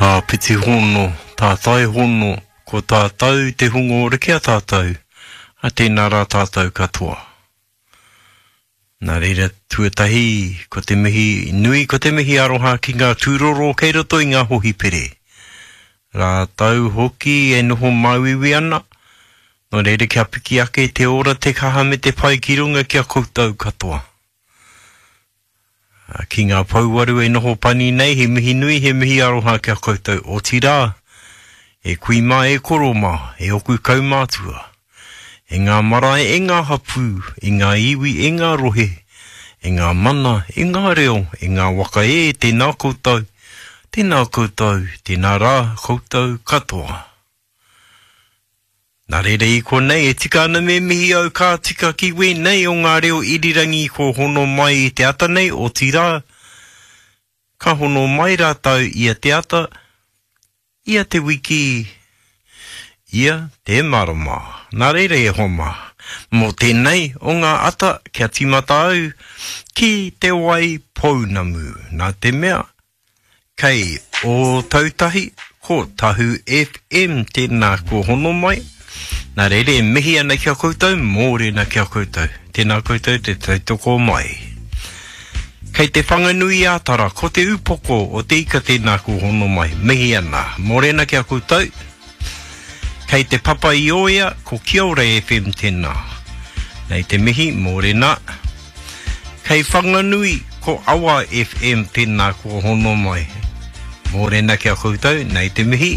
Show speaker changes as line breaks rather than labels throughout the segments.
Āpiti hono, tātai hono, ko tātou te hunga ora ki a tātou, a tēnā rā tātou katoa. Nā reira, tuatahi, ko te mihi nui, ko te mihi aroha ki ngā tūroro kei roto i ngā hohipere. Rātou hoki e noho māuiui ana, nō reira kia piki ake te ora, te kaha me te pai ki runga ki a koutou katoa. Ki ngā pouwaru e noho pani nei, he mihi nui, he mihi aroha ki a koutou, otirā, e kui mā, e koro mā, e oku kaumātua, e ngā marae, e ngā hapū, e ngā iwi, e ngā rohe, e ngā mana, e ngā reo, e ngā waka e, tēnā koutou, tēnā koutou, tēnā rā koutou katoa. Nā reira i konei e tika ana me mihi au ka tika ki wēnei o ngā reo irirangi ko hono mai i te ata nei, otirā, ka hono mai rātou ia te ata, ia te wiki, ia te marama. Nā reira e hoa mā, mō tēnei o ngā ata kia tīmata au ki te wai pounamu, nā te mea, Kei Ōtautahi, ko Tahu FM tēnā kua hono mai. Nā reira e mihi ana ki a koutou, mōrena ki a koutou. Tēnā koutou te tautoko mai. Kei Te Whanganui-ā-Tara, ko Te Upoko o Te Ika tēnā kua hono mai. Mihi ana, mōrena ki a koutou. Kei Te Papa-i-ōea, ko Kia Ora FM tēnā. Nei te mihi, mōrena. Kei Whanganui, ko Awa FM tēnā kua hono mai. Mōrena ki a koutou, nei te mihi.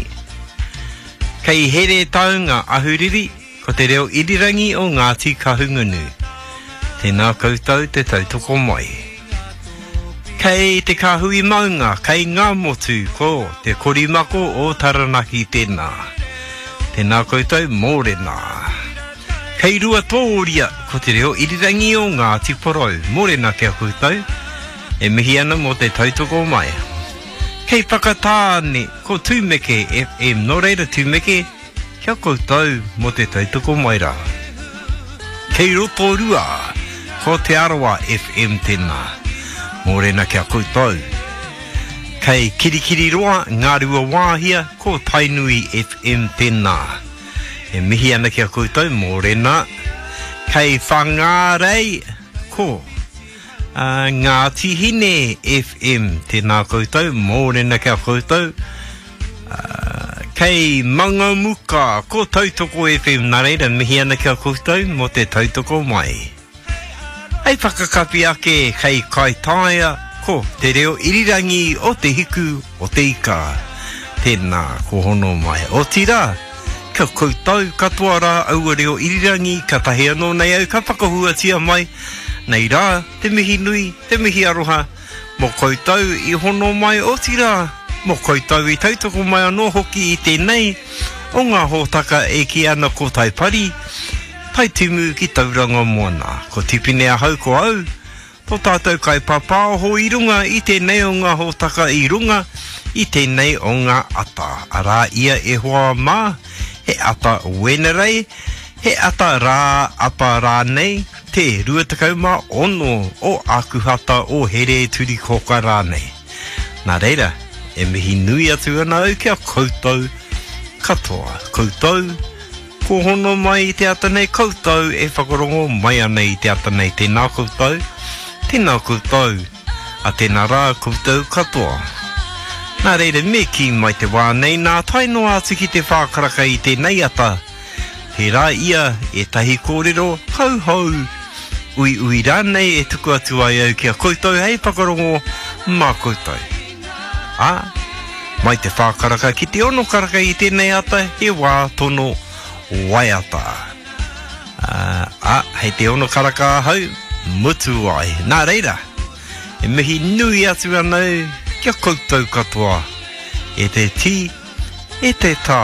Kei Heretaunga, Ahuriri, ko te reo irirangi o Ngāti Kahungunu. Tēnā koutou te tautoko mai. Kei Te Kāhui Maunga, kei Ngāmotu, ko Te Korimako o Taranaki tēnā. Tēnā koutou, mōrena. Kei Ruatōria, ko te reo irirangi o Ngāti Porou. Mōrena ki a koutou, e mihi ana mō te tautoko mai. Kei Whakatāne, ko Tūmeke FM. Nō reira Tūmeke, kia koutou mō te tautoko mai rā. Kei Rotorua, ko Te Arawa FM tēnā. Mōrena ki a koutou. Kei Kirikiriroa, Ngāruawāhia, ko Tainui FM tēnā. E mihi ana ki a koutou, mōrena. Kei Whangārei, ko uh, Ngāti Hine FM. Tēnā koutou, mōrena ki a koutou. Uh, kei Mangamuka, ko Tautoko FM. Nā reira, mihi ana ki a koutou mō te tautoko mai. Hei whakakapi ake kei Kaitaia ko te reo irirangi o Te Hiku o Te Ika. Tēnā, ko hono mai. Otirā, kia koutou katoa rā aua reo irirangi katahi anō nei au ka whakahuatia mai, nei rā te mihi nui, te mihi aroha, mō koutou i hono mai otirā, mō koutou i tautoko mai anō hoki i tēnei o ngā hōtaka e kī ana ko Taipari, Taitimu ki Tauranga Moana. Ko Tipene ahau ko au, tō tātou kaipāpāoho i runga i tēnei o ngā hōtaka i runga i tēnei o ngā ata. Arā ia e hoa mā, he ata Wenerei, he ata rā apa rānei, te 26 o Ākuhata o Here-turi-kōka rānei. Nā reira, e mihi nui atu ana au ki a koutou katoa. Koutou, Kua hono mai i te ata nei koutou e whakarongo mai ana i te ata nei tēnā koutou, tēnā koutou, a tēnā rā koutou katoa. Nā reira me kī mai te wā nei nā tae noa atu ki te whākaraka i tēnei ata, tērā ia ētahi kōrero kauhou, uiui rānei e tuku atu ai au ki a koutou hei whakarongo mā koutou. Ā, mai te whā karaka ki te ono karaka i tēnei ata, he wā tono waiata. Ā, ā, hei te ono karaka ahau, mutu ai. Nā reira, e mihi nui atu ana au ki a koutou katoa, e te tī, e te tā.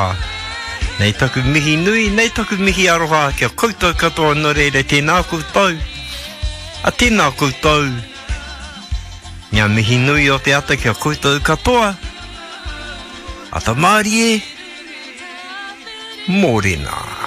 Nei taku mihi nui, nei taku mihi aroha ki a koutou katoa, nō reira tēnā koutou, a tēnā koutou, Ngā mihi nui o te ata ki a koutou katoa. Ata mārie, mōrena.